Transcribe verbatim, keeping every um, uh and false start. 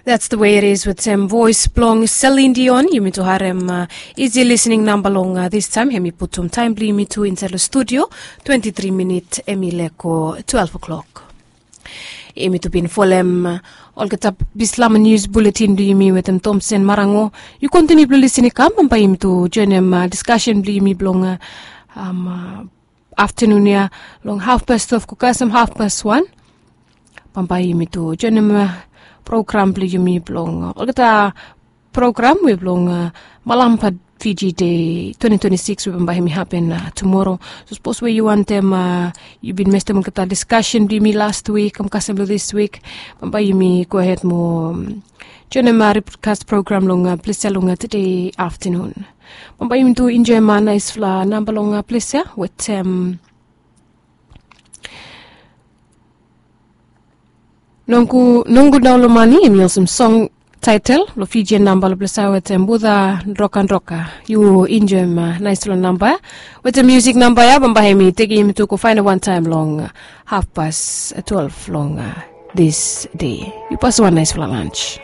That's the way it is with sem voice blong Celine Dion. Yumi tu harem uh, easy listening number long uh, this time. Hemi putum time bli yumi tu inside the studio. Twenty-three minute emi leko twelve o'clock. Yumi tu bin folem uh, olgeta bislama news bulletin bli yumi wetem Thompson Marango. You continue bli listening kam bamba yumi tu joinim uh, discussion bli yumi blong uh, um, uh, afternoon ya long half past twelve ko kasem half past one. Bambae yumi tu joinim program blong yumi blong olgeta program we blong malampa Fiji Day twenty twenty-six we bambae yumi hapen tumoro. So sapos we yu wantem yu bin mestem olgeta discussion blong yumi last week kam kasem long this week, bambae yumi go ahead mo joinim rebroadcast program long ples ya long today afternoon. Bambae yumi tu enjoy ma naispela namba long ples ya wetem nongu nongu daun long mani yumi olsem song title long Fijian namba long ples ya wetem Buda Droka Droka. Yu enjoy ma naispela namba wetem music namba ya bambae yumi tekim yumi tu go fain wantaim long half past twelve long this day. Yu pas wan naispela lunch.